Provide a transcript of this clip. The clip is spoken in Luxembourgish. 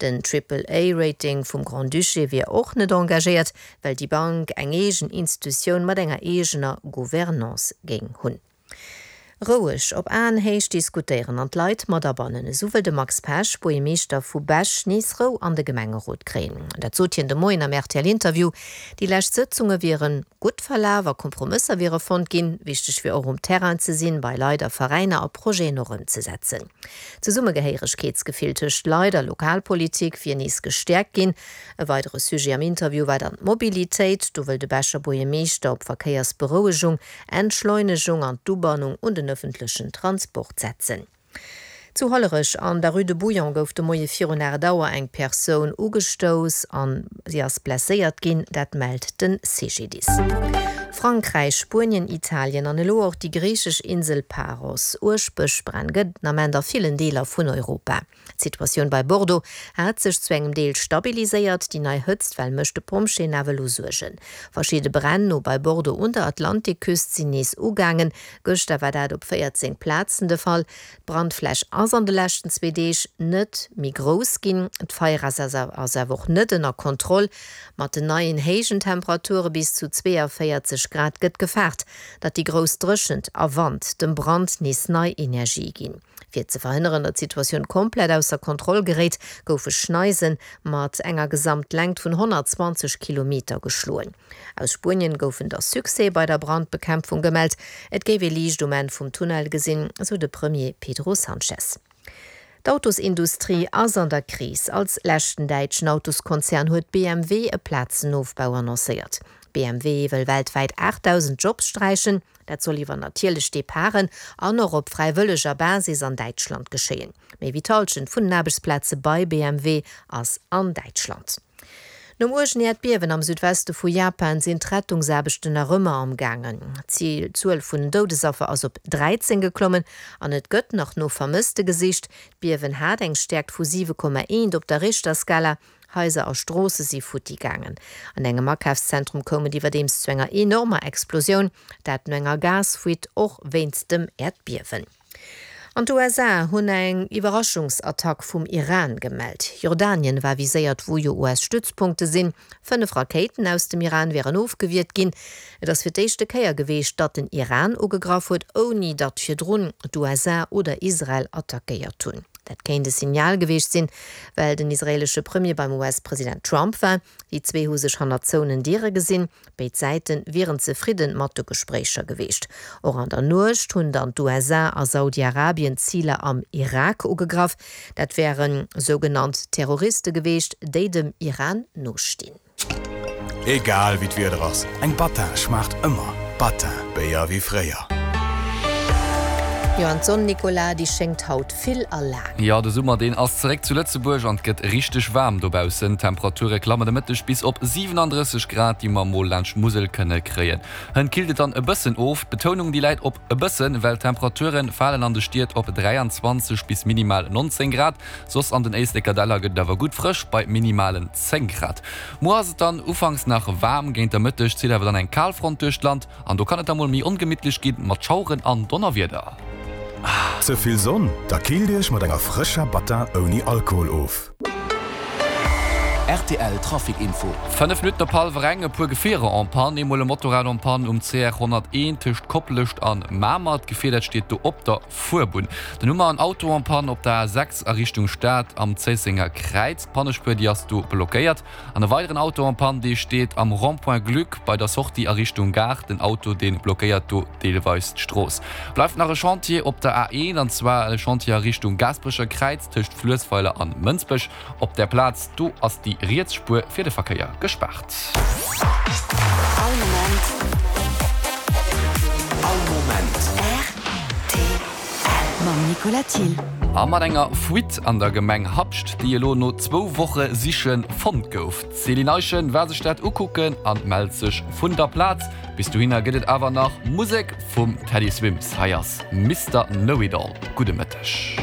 Den Triple-A-Rating vum Grand-Duché wier och net engagéiert, well déi Bank eng eegen Institutioun mat enger eegener Gouvernance géing hunn. Roueg, op Aenhéicht diskutéieren an d'Leit mat abannen, esou wëll de Max Pesch, Buergermeeschter vu Bech, nees Rou an de Gemengerot kréien. Dat sot hien de Moien am RTL-Interview. Déi lescht Sëtzunge wiere gutt verlaf a Kompromësser wiere fonnt ginn. Wichteg wier och um Terrain ze sinn, bei Leit a Veräiner a Projeten och ëmzesetzen. D'Zesummegehéieregkeetsgefill tëscht Leit a Lokalpolitik wier nees gestäerkt ginn. E weidere Sujet am Interview war dann d'Mobilitéit. Do wëll de Becher Buergermeeschter op Verkéiersberouegung, Entschleunegung an d'Ubannung un den ëffentlechen Transport setzen. Zu Hollerech an der Rue de Bouillon gouf de Moie virun 8 Auer eng Persoun ugestouss an si ass blesséiert ginn, dat mellt de CGDIS. Frankräich, Spuenien, Italien an elo och déi griichesch Insel Paros. Uerg Bëschbränn gëtt den Ament a villen Deeler vun Europa. D'Situatioun bei Bordeaux hat sech zu engem Deel stabiliséiert, déi nei Hëtztwell mécht de Pompjeeën awer elo Suergen. Verschidde Bränn no bei Bordeaux un der Atlantikküst sinn nees ugaangen. Gëschter war dat op 14 Plazen de Fall. D'Brandfläch ass an de leschten zwee Deeg net méi grouss ginn. D'Feier ass awer och net ënner Kontroll. Mat den neien héijen Temperature bis zu 42 Grad gëtt gefaart, datt déi grouss Dréchent a Wand dem Brand nees nei Energie ginn. Fir ze verhënneren, datt d'Situatioun komplett ausser Kontroll geréit, goufe Schneise mat enger Gesamtlängt vun 120 Kilometer geschloen. Aus Spuenien goufen da Succèse bei der Brandbekämpfung gemellt. Et géif ee Liicht um Enn vum Tunnel gesinn, sou de Premier Pedro Sanchez. D'Autosindustrie ass an der Kris. Als leschten däitschen Autoskonzern huet BMW e Plazenofbau annoncéiert. BMW wëll weltwäit 8.000 Jobs sträichen. Dat soll iwwer natierlech Departen an och op fräiwëlleger Basis an Däitschland geschéien. Méi wéi d'Hallschent vun den Aarbechtsplaze bei BMW ass an Däitschland. Nom uergen Äerdbiewen am Südweste vu Japan sinn d'Rettungsaarbechten nach ëmmer am gaangen. D'Zuel vun den Doudesaffer ass op 13 geklommen an et gëtt nach no Vermësste gesicht. D'Biewen hat eng Stäerkt vu 7,1 op der Richterskala. Haiser a Stroosse si futti gaangen. An engem Akafszentrum koum et iwwerdeems zu enger enormer Explosioun, dat no enger Gasfuite, och wéinst dem Äerdbiewen. An d'USA hunn eng Iwwerraschungsattack vum Iran gemellt. Jordanien war viséiert, wou jo US-Stützpunkte sinn. 5 Rakéiten aus dem Iran wieren ofgewiert ginn. Et ass fir d'éischte Kéier geweecht, datt den Iran ugegraff huet, ouni datt virdrun d'USA oder Israel attackéiert hunn. Dat kéint e Signal geweecht sinn, well den israeelesche Premier beim US-President Trump war. Déi zwee hu sech hannert zouenen Diere gesinn. Béid Säite wieren zefridde mat de Gespréicher geweecht. Och an der Nuecht hunn dann d'USA a Saudi-Arabien Ziler am Irak ugegraff. Dat wäre sougenannt Terroriste geweecht, déi dem Iran nostinn. Egal wéi d'Wieder ass, eng Battin schmaacht ëmmer. Battin, Béier wéi fréier. Jo, an d'Sonn, Nicolas, déi schéngt haut vill a laang. Jo, de Summer deen ass zeréck zu Lëtzebuerg an et gëtt richteg waarm dobaussen. D'Temperature klammen de Mëtteg bis op 37 Grad, déi mer mol laanscht d'Musel kënne kréien. Hënt killt et dann e bëssen of, d'Betounung déi läit op e bëssen, well d'Temperature falen an de Stied op 23 bis minimal 19 Grad. Soss an den Éisleker Däller gëtt et awer gutt frësch bei minimalen 10 Grad. Muer ass et dann ufanks nach waarm, géint der Mëtteg zitt awer dann eng Kalfront duerch d'Land an do kann et da mol méi ongemittlech ginn mat Schaueren an Donnerwieder. Ze vill Sonn? Da killt Iech mat enger frëscher Battin ouni Alkohol of. Rtl Trafic Info. 5 Minutten op hallwer eng, e puer Gefierer en panne, eemol e Motorrad en panne um CR 101 tëscht Koplescht an Mamer. D'Gefier dat steet do op der Fuerbunn. Dann hu mer en Auto en panne op der A6 a Richtung Stad am Zéissenger Kräiz. D'Pannespuer déi ass do blockéiert. An e weideren Auto en panne dee steet am Rond-point Gluck bei der Sortie a Richtung Gare. Den Auto dee blockéiert do deelweis d'Strooss. Bleift nach e Chantier op der A1 an zwar e Chantier a Richtung Gaasperecher Kräiz tëscht Fluessweiler an Mënsbech. Op där Plaz do ass déi riets Spuer fir de Verkéier gespaart. All Moment. All Moment. Rtl. Mam Nicolas Thill. A mat enger Fuite an der Gemeng Habscht, déi elo no zwou Woche Siche fonnt gouf. D'Céline Eischen war sech dat ukucken an mellt sech vun der Plaz. Bis dohinner gëtt et awer nach Musek vum Teddy Swims. Hei ass Mister Know It All. Gudde Mëtteg.